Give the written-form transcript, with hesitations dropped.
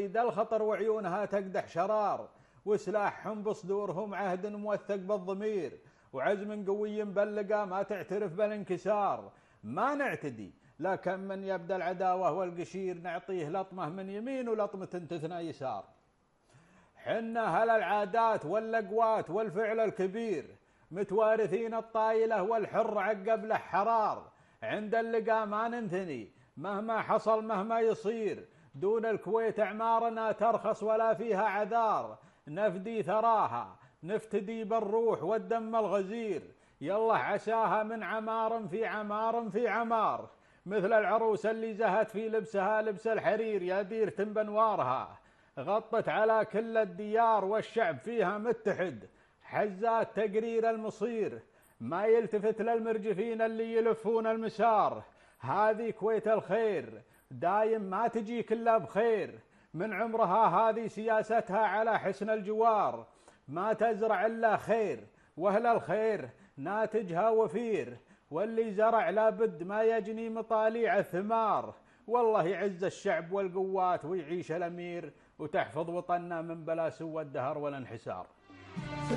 صيد الخطر وعيونها تقدح شرار، وسلاحهم بصدورهم عهد موثق بالضمير، وعزم قوي بلقى ما تعترف بالانكسار. ما نعتدي لكن من يبدأ العداوة والقشير نعطيه لطمة من يمين ولطمة تثنى يسار. حنا هل العادات واللقوات والفعل الكبير، متوارثين الطايلة والحر عقب له حرار. عند اللقاء ما ننثني مهما حصل مهما يصير، دون الكويت أعمارنا ترخص ولا فيها عذار. نفدي ثراها نفتدي بالروح والدم الغزير، يلا عساها من عمار في عمار في عمار. مثل العروس اللي زهت في لبسها لبس الحرير، يا ديرة بنوارها غطت على كل الديار والشعب فيها متحد. حزات تقرير المصير ما يلتفت للمرجفين اللي يلفون المسار. هذه كويت الخير دايم ما تجيك إلا بخير، من عمرها هذه سياستها على حسن الجوار. ما تزرع إلا خير وأهل الخير ناتجها وفير، واللي زرع لابد ما يجني مطاليع الثمار. والله يعز الشعب والقوات ويعيش الأمير، وتحفظ وطننا من بلا سوى الدهر والانحسار.